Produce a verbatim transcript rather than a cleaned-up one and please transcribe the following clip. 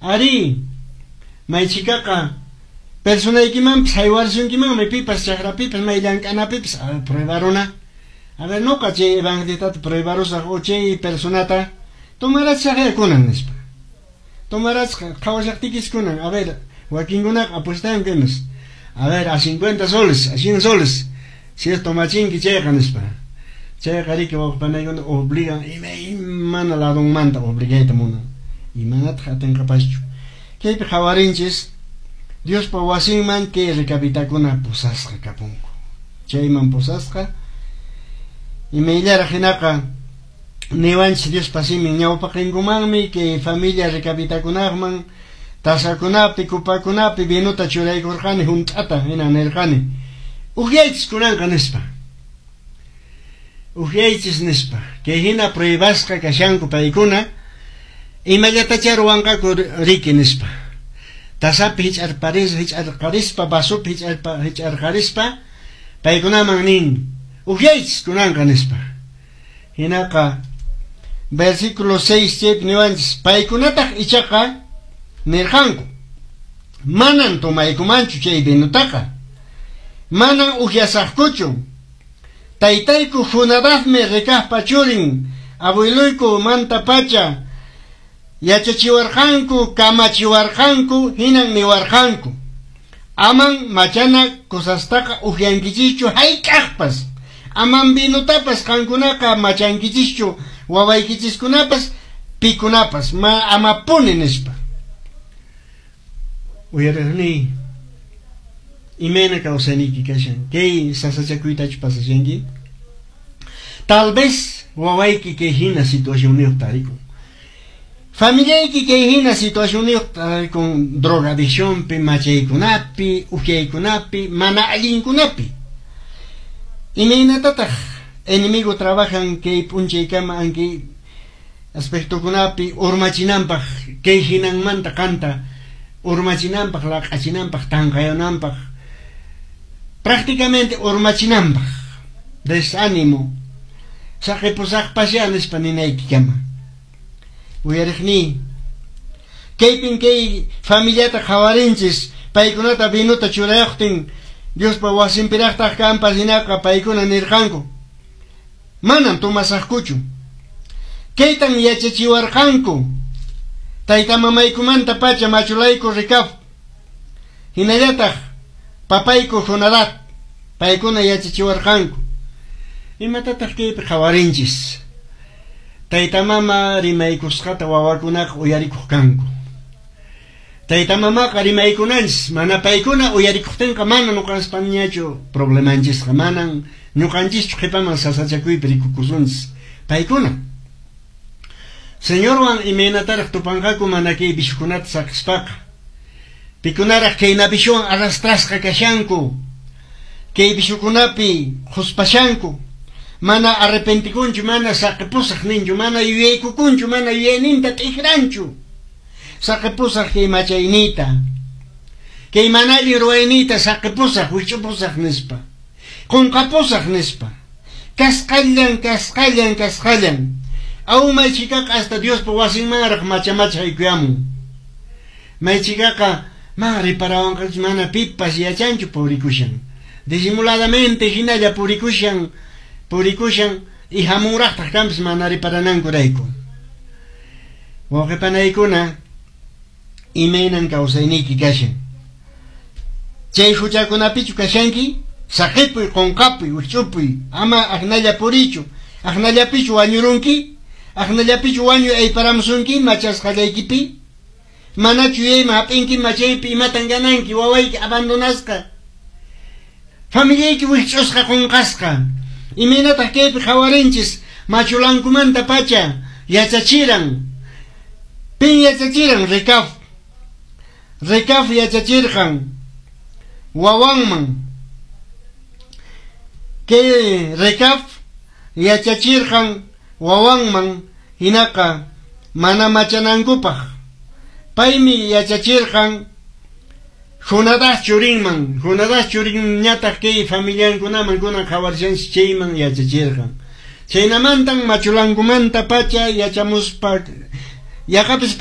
Ari, maychikaqa personaykimanpis haywarsunkimanmi pipas chakrapipas may llank'anapipas, a ver, pruebaruna. A ver, nuqa chay evangelistata pruebarusaq o chay personata tomarachaq kunan nispa. Tomarachqa qhawashaqtikis kunan, a ver, wakinkunaqa apuestanku imas. A ver, a cincuenta soles, a cien soles, si es tomachinki chayqa nispa. Chayqa riki wawqipanaykuna obligan imaymana ladonmanta obligayta munan. Imanataq atinqapaschu. Kaypi qhawarinchis Diospa wasinman kay recabitakuna pusasqa kapunku. Chayman pusasqa imayllaraq hinaqa niwanchis Diospa simin ñawpaqinkumanmi kay familia recabitakunaqman tasakunapi kupakunapi vinuta churaykurqani hunt'ata hina nirqani ukyaychis kunanqa nispa. Ukyaychis nispa. Kay hina pruebasqa kashanku paykuna imallatachá ruwanqaku riki nispa. Tasapi hich'arparis hich'arqarispa vasopi hich'arpa hich'arqarispa paykunaman nin ukyaychis kunanqa nispa. Hinaqa versículo seis chaypi niwanchis paykunataq ichaqa nirqanku manan tomaykumanchu chay vinutaqa manan ukyasaqkuchu taytayku Jonadabmi Recabpa churin abueluyku manta pacha yachachiwarqanku kamachiwarqanku hinan niwarqanku aman machana cosastaqa ukyankichischu hayk'aqpas aman vinutapas qankunaqa machankichischu wawaykichiskunapas pikunapas ma amapuni nispa. Uyariqni imayna kawsayniyki kashan kay sasachakuytachu pasashanki tal vez wawayki kay hina situacionniyuq tarikun familiayki kay hina situacionniyuq tarikun drogadiccionpi machaykunapi ukyaykunapi mana allinkunapi imaynatataq enemigo trabajan kay p'unchaykama ankay aspectokunapi urmachinanpaq kay hinanmanta qanta urmachinanpaq laq'achinanpaq tanqayananpaq prácticamente urmachinanpaq desánimo saqipusaqpasya nispa ninaykikama uyariqni kaypin kay familiata qhawarinchis paykunata vinuta churayuqtin Diospa wasinpiraqtaq kanpas hinaqa paykuna nirqanku manan tomasaqkuchu kaytan yachachiwarqanku tayta mamaykumanta pacha machulayku Recab hinallataq papayku Jonadab paykuna yachachiwarqanku imatataq kaypi qhawarinchis tayta mama rimaykusqata wawakunaqa uyarikuq kanku tayta mamaqa rimaykunanchis mana paykuna uyarikuqtinqa mana ñuqanchis problemanchisqa manan ñuqanchischu qhipaman sasachakuypi rikukusunchis paykuna Señorwan imaynataraq tupanqaku mana kay vishukunata saqispaqa pikunaraq kay navishuwan arrastrasqa kashanku kay vishukunapi huspashanku mana arrepentikunchu mana saqipusaq ninchu mana yuyaykukunchu mana yuyayninta t'ikranchu saqipusaq kay machayniyta kay mana allin ruwayniyta saqipusaq wich'upusaq nispa qunqapusaq nispa kasqallan kasqallan kasqallan aw maychikaqa hasta Diospa wasinmanraq machamacha haykuyamun maychikaqa ma riparawanqachis mana pipas yachanchu purikushan disimuladamente hinalla purikushan purikushan y hamunraqtaq kanpis mana riparanankurayku wawqipanaykuna imaynan kawsayniyki kashan chay huchakunapichu kashanki saqipuy qunqapuy wich'upuy ama aknalla purichu aknallapichu wañurunki aknallapichu wañuy ayparamusunki machasqallaykipi manachu yuyayman hap'inki machaypi imatan gananki wawayki abandonasqa familiayki wikch'usqa qunqasqa imaynataq kaypi qhawarinchis machulankumanta pacha yachachiran pin yachachiran Recab Recab yachachirqan wawanman kay Recab yachachirqan wawanman hinaqa mana machanankupaq paymi yachachirqan Jonadab churinman Jonadab churinñataq kay familiankunaman kunan qhawarishanchis chayman yachachirqan chaynamantan machulankumanta pacha yachamuspa yaqapis